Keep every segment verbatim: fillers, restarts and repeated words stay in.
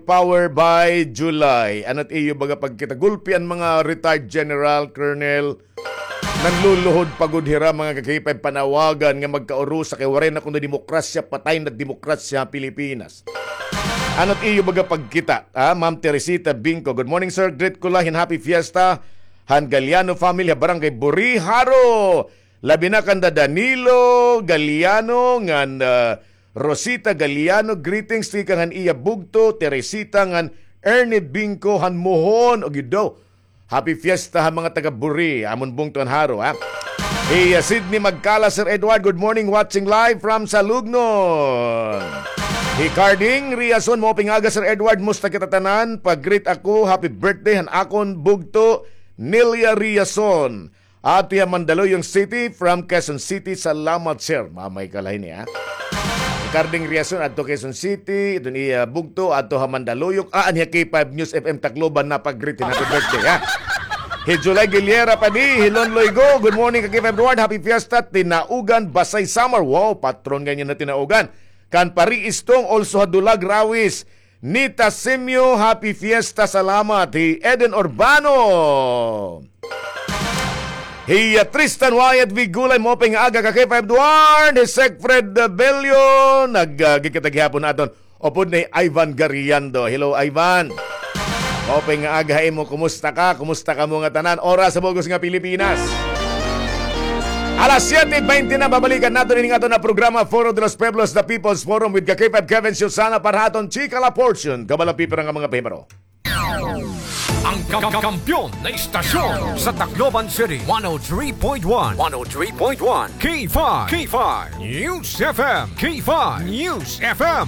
Power by July. Ano it iyo baga pagkita? Gulpi an mga retired general, colonel, nanluluhod pa gud hira, mga ka-K five, panawagan nga magkaurusa kay waray na kuno demokrasya, patay na demokrasya ha Pilipinas. Ano it iyo baga pagkita, ha? Ma'am Teresita Bingco, good morning, sir. Greet ko la hin happy fiesta han Galiano family ha Barangay Buri, Jaro. Labi na kanda Danilo Galiano ngan, ah, Rosita Galiano. Greetings tikang han iya bugto, Teresita ngan Ernie Bingco han Mohon. O gid daw. Happy fiesta ha mga taga Buri, amon bungto han Jaro, ha? Hi, ah, Sydney Magkala, Sir Edward, good morning, watching live from Salugnon. Hi Carding Riason, maupay nga aga, Sir Edward, musta kita tanan? Pag-greet ako, happy birthday han akon bugto, Nelia Riason. Adto ha Mandaluyong City from Quezon City. Salamat, sir. Mamay ka la hini, ha? Hi Carding Riason, adto Quezon City, iton iya bugto, adto ha Mandaluyong. Ah, anhi ha K five News F M Tacloban, napag-greet hin happy birthday, ha? Hi July Guilera Padi, hi Lon Loigo, good morning ka K five Edward, happy fiesta, Tinaugan, Basay, Samar. Wow, patron ngay-an na Tinaugan. Kan Pari Istong, also ha Dulag, Rawis. Nita Simio, happy fiesta, salamat. Hi Eden Urbano. Hi, uh, Tristan Wyatt Vigulay, maupay nga aga ka K five Edward. Hi Segfred, uh, Bello, nag, uh, gikita gihapon naton. Upod ni Ivan Gariando. Hello, Ivan. Maupay nga aga ha imo. Kumusta ka? Kumusta kamo ngatanan? Oras sa bug-os nga Pilipinas. Alas siyete bente na, babalikan naton ini nga aton nga programa, Foro de los Pueblos, The People's Forum with ka K five Kevin Susana para ha aton Chika La Portion. Kabalang pipira nga mga pahibaro. Ang ka-, kampiyon na istasyon sa Tacloban City, one oh three point one. One oh three point one. K five. K five News F M. K five News F M.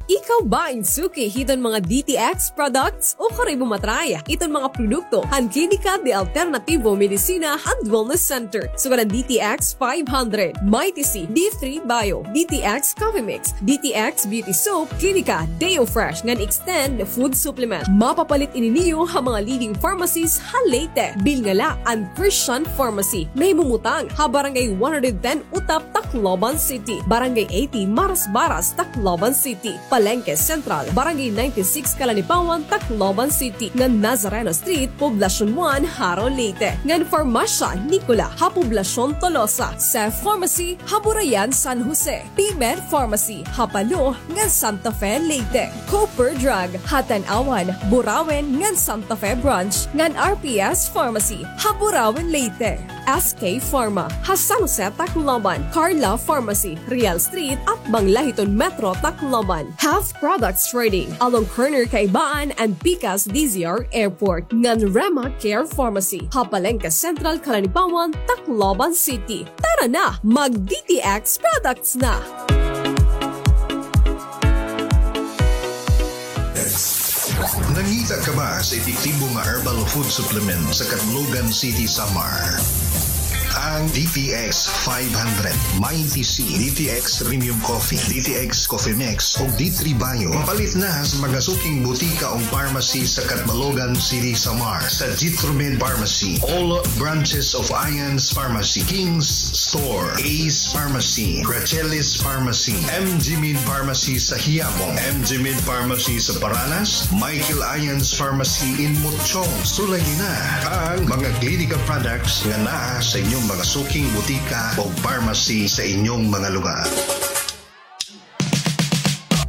Ikaw ba in suki hiton mga D T X products? Ukara imo ma-try iton mga produkto han Klinika de Alternativo Medicina and Wellness Center. Sugad han D T X five hundred, Mighty C, D three Bio, D T X Coffee Mix, D T X Beauty Soap, Klinika Deo Fresh ngan Extend Food Supplement. Mapapalit ini niyo ha mga leading pharmacies ha Leyte. Bilnga la an Christian Pharmacy, nahimumutang ha Barangay one hundred ten Utap, Tacloban City, Barangay eighty Marasbaras, Tacloban City, Palengke Central, Barangay ninety-six Calanipawan, Tacloban City, ngan Nazareno Street, Poblacion one, Jaro, Leyte, ngan Farmasya Nicola ha Poblacion Tolosa, Seth Pharmacy ha Burayan, San Jose, P-Med Pharmacy ha Palo ngan Santa Fe, Leyte, Cooper Drug ha Tanauan, Burauen ngan Santa Fe Branch, ngan R P S Pharmacy ha Burauen, Leyte. S K Pharma ha San Jose, Tacloban, Carla Pharmacy, Real Street, atbang la hiton Metro Tacloban. Health Products Trading, along corner Kaibaan and Pikas D Z R Airport, ngan Rema Care Pharmacy ha Palengke Central, Calanipawan, Tacloban City. Tara na, mag-D T X products na! Nangita ka ba sa epektibo nga herbal food supplement sa Catbalogan City, Samar? Ang D T X five hundred, Mighty C, D T X Premium Coffee, D T X Coffee Mix, ug D three Bio. Mapalit na sa mga suking butika o pharmacy sa Catbalogan City, Samar, sa Jitromed Pharmacy, all branches of Ions Pharmacy, King's Store, Ace Pharmacy, Rachelis Pharmacy, M G Med Pharmacy sa Quiapo, M G Med Pharmacy sa Paranas, Michael Ions Pharmacy in Mochong. Sulayi na ang mga Klinika products nga naa sa inyong mga suking butika o pharmacy sa inyong mga lugar.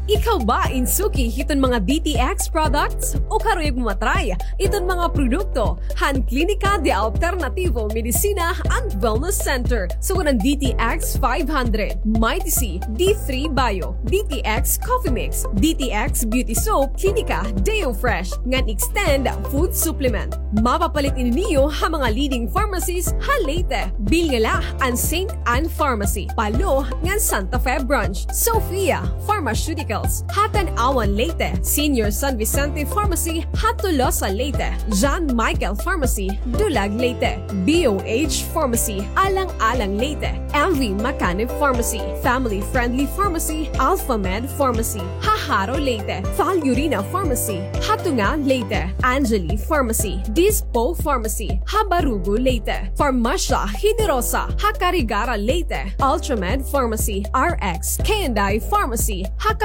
Ikaw ba in suki hiton mga D T X products? Ukara imo ma-try iton mga produkto han Klinika de Alternativo Medicina and Wellness Center. Sugad han D T X five hundred, Mighty C, D three Bio, D T X Coffee Mix, D T X Beauty Soap, Klinika Deo Fresh, ngan Extend Food Supplement. Mapapalit ini niyo ha mga leading pharmacies ha Leyte. Bilnga la an Saint Ann Pharmacy, Palo, ngan Santa Fe Branch, Sophia Pharmaceuticals ha Tanauan, Leyte, Senior San Vicente Pharmacy ha Tolosa, Leyte, John Michael Pharmacy, Dulag, Leyte, B O H Pharmacy, Alang-alang, Leyte, M V Macanib Pharmacy, Family Friendly Pharmacy, Alpha Med Pharmacy ha Jaro, Leyte, Falurina Pharmacy ha Tunga, Leyte, Angeli Pharmacy, Dispo Pharmacy ha Barugo, Leyte, Farmasya Generosa ha Carigara, Leyte, Ultramed Pharmacy, R X K and I Pharmacy ha